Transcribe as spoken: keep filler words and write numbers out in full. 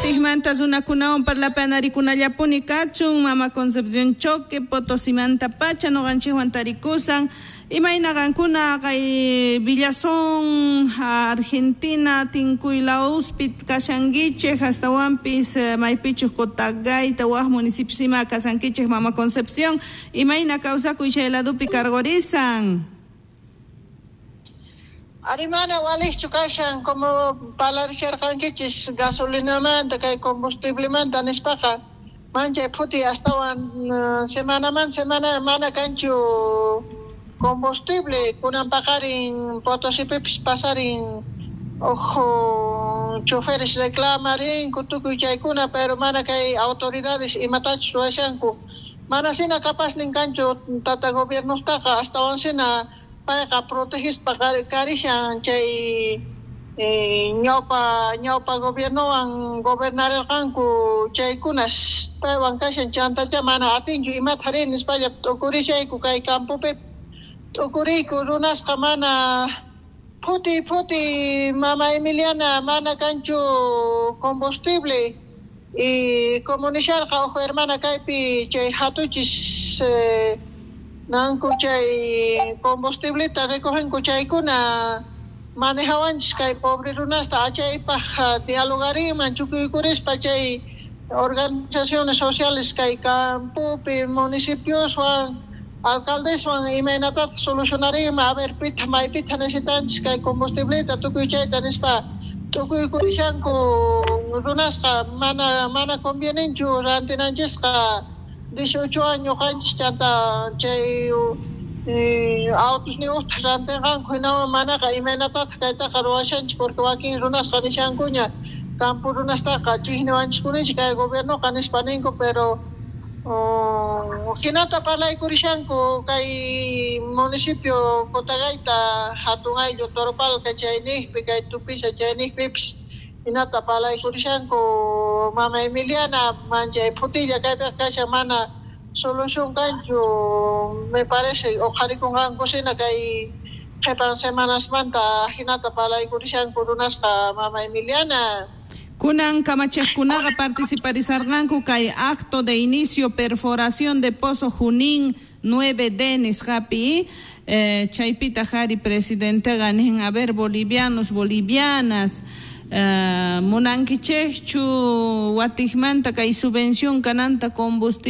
Watikmanta runakunawan parlapanarikunallapuni kachun mama Concepción Choque Potosimanta pacha noqanchikwan tarikusan imayna qankuna kay Villazón Argentina Tinkuylawspi kashankichik hastawanpis maypichus Cotagaita waj municipios ima kasankichik mama Concepción imayna kawsakuy chay ladupi karqurisan. Arimana walichu kashan como palarisharqankichis gasolinamanta kay combustiblemanta nispaqa manchay phuti astawan semanaman semana mana kanchu combustible kunan paqarin Potosipipis pasarin ojo choferes reclamarinku tukuy chaykuna pero mana kay autoridades imatachus ruwashanku mana sina capaznin kanchu tata gobiernostaqa astawan sina payqa protegispa karishan chay ñawpa ñawpa gobiernowan gobernarirqanku chaykunas paywan kashan chantacha mana atinchu imata rin nispalla t'ukurishayku kay campopi t'ukuriyku runasqa mana phuti phuti mama Emiliana mana kanchu combustible y como nisharqa uj hermana kaypi chay hatuchis eh, nanku chay combustibleta recogenku chaykuna manejawanchis kay pobre runasta achaypaj dialogarinman chukuykurispa chay organizaciones sociales kay campopi municipioswan alcaldeswan imaynatataq solucionarinman a ver pitaq maypitaq necesitanchis kay combustibleta tukuy chayta nispa tukuykurishanku runasqa mana mana convieninchu rantinanchisqa dieciocho años qanchis chanta chay autos niuqta rantinqanku hinawan manaqa imaynatataq kaytaqa ruwashanchis porque wakin runasqa nishankuña campo runastaqa chiqniwanchiskunichik kay gobiernoqa nispa ninku pero hinata parlaykurishanku kay municipio Cotagaita hatun ayllu Toropalca chayniqpi kay Tupiza chayniqpipis hinata parlaykurishanku mama Emiliana manchay phutilla kaypiqa kashan mana solución kanchu me parece uqharikunqanku sina kay qhipan semanasmanta hinata parlaykurishanku runasqa mama Emiliana. Kunan kamachiqkunaqa participarisarqanku kay acto de inicio perforación de pozo Junín nueve D nisqapi eh, chaypitaq ari presidenteqa nin a ver bolivianos bolivianas eh, munankichikchu watikmanta kay subvención kananta combustible